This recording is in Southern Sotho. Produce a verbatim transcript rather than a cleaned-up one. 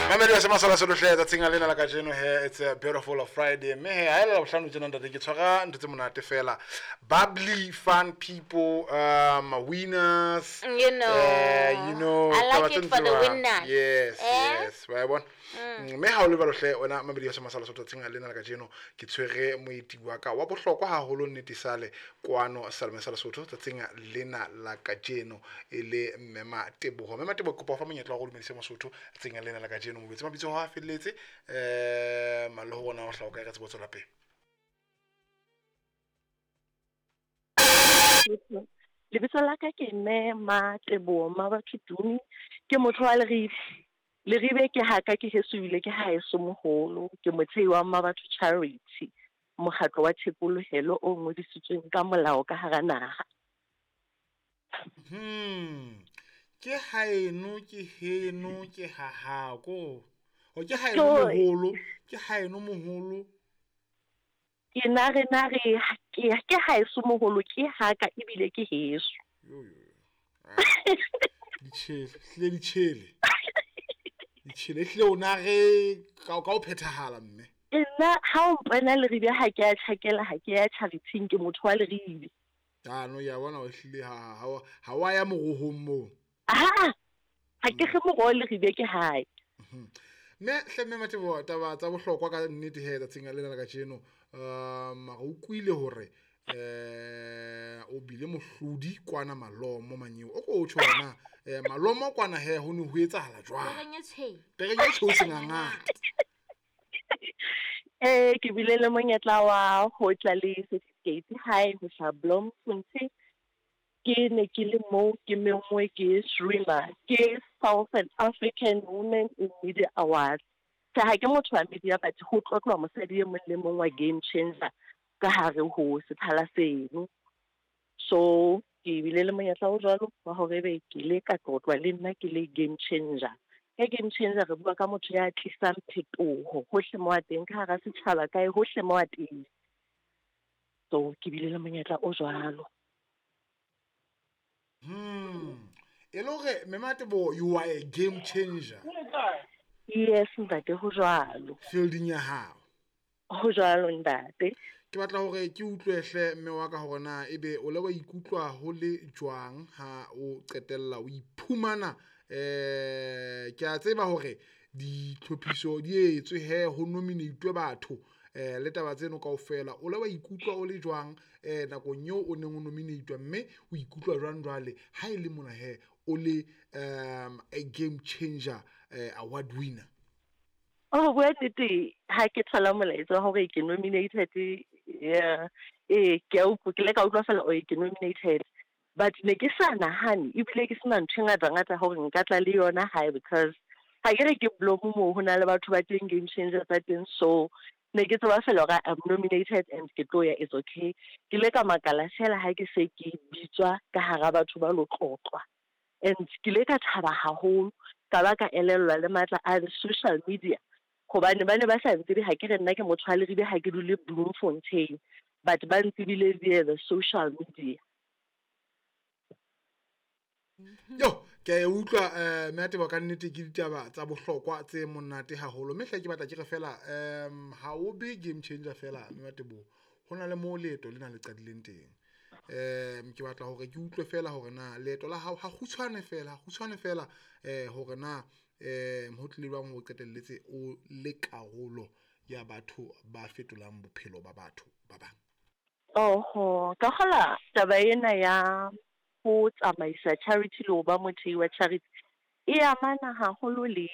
Mamedi wa Semasala Solohle tsatsing lena la kajeno he, it's a beautiful Friday. Mme he, ha e le Labohlano tjena ntate, ke tshwara ntho tse monate fela. Bubbly, fun people, um, winners. You know. Uh, you know. I like taba it for the tse jwang. Winners. Yes, Eh? yes. Wa e bona? Mme ha o le jwalo hle wena mamedi wa Semasala Sotho, tsatsing lena la kajeno ke tshwere moeti wa ka wa bohlokwa haholo nnete sale kwano Salome sa Lesotho tsatsing lena la kajeno, e le Mme Mateboho. Mme Mateboho, kopa ho fa monyetla wa go dumedisa Mosotho tsatsing lena la kajeno, mobetse mabitso a felletse eh malo ho bona ho hlaha o kae, re tsebo tswela pele. Lebitso la ka ke Mme Mateboho Mabatho Tumi, ke motho wa Leribe. Leribe ke haka, ke heso ebile ke haeso moholo. Ke mothehi wa Mabatho Charity, mokgatlo wa thekolohelo o ngodisitsweng ka molao ka hara naha. Hmm. Ke haeno, ke heno, ke ha hao ko. O ke haeno Tjo. moholo, ke haeno moholo. Ke na re na re ke ke haeso moholo, ke haka ebile ke heso. Yo yo yo. Ah. Ditjhele, hlile ditjhele. Ditjhele hlile o na re ka ka o phethahala mme. Nna ha o mpona Leribe, ha ke a tjhakela, ha ke ya charity-ing, ke motho wa Leribe. Ah no, ya bona o hlile ha ha ha wa ya morohong moo. Ha ha ke kge moroho, Leribe ke hae. Mme hle mme Mateboho, taba tsa bohlokwa ka nnete he tsatsing lena la kajeno, um re utlwile hore eh o bile mohlodi kwana Malomo manyeo. O ko tjho hore na eh Malomo kwana he ho ne ho etsahala jwang? Pereng e tshweu. Pereng e tshweu sengangata. Eh ke bile le monyetla wa ho tla le certificate hae ho hlaha Bloemfontein. Ke ne ke le moo ke menngwe ke Shreema, ke Southern African Women in Media Awards. Tjhe, ha ke motho wa media, but ho tlotlwa mosadi e mong le mong wa game changer ka hare ho sethala seno. So ke bile le monyetla o jwalo wa hore ebe ke ile ka tlotlwa le nna ke le game changer. Ka game changer re bua ka motho ya tlisang phetoho hohle mo a teng, ka hara setjhaba, kae hohle mo a teng. So ke bile le monyetla o jwalo. Hmm. E le hore Mme Mateboho, you are a game changer. Yes ntate, ho jwalo. Fielding ya hao. Ho jwalo ntate. Ke batla hore ke utlwe hle mme wa ka hore na ebe o le wa ikutlwa ho le jwang ha o qetella o iphumana, eh ke a tseba hore ditlhophiso di etswe he ho nominate batho eh le taba tseno kaofela, o le wa ikutlwa o le jwang eh nakong eo o neng o nominate, mme o ikutlwa jwang jwale ha e le mona he o le um a game changer eh, award winner? Oh, bua nnete, ha ke thola molaetsa wa hore ke nominated, yeah, eh ke a utlwa, ke ile ka utlwa fela oh ke nominated, but ne ke sa nahane ebile ke sena ntho e ngata ngata hore nka tla le yona hae, because ha ke re ke Bloem moo ho na le batho ba teng game changer tsa teng, so ne ke tseba fela hore I'm nominated and ke tlo ya, it's okay. Ke ile ka makala fela ha ke se ke bitswa ka hara batho ba lo tlotlwa, and ke ile ka thaba haholo, ka ba ka elellwa le matla a the social media, hobane ba ne ba sa ntsebe, ha ke re nna ke motho wa Leribe, ha ke dule Bloemfontein, but ba ntsebile via the social media. Yo, ke a e utlwa eh mme Mateboho, ka nnete ke ditaba tsa bohlokwa tse monate haholo. Mme hle ke batla ke re fela um ha o be game changer fela mme Mateboho, ho na le moo leeto lena le qadileng teng. Um ke batla hore ke utlwe fela hore na leeto la hao ha kgutshwane fela, ha kgutshwane fela eh hore na um ho tlile jwang ho qetelletse o le karolo ya batho ba fetolang bophelo ba batho ba bang. Oho, ka kgola taba ena ya ho tsamaisa charity le ho ba mothehi wa charity e amana haholo le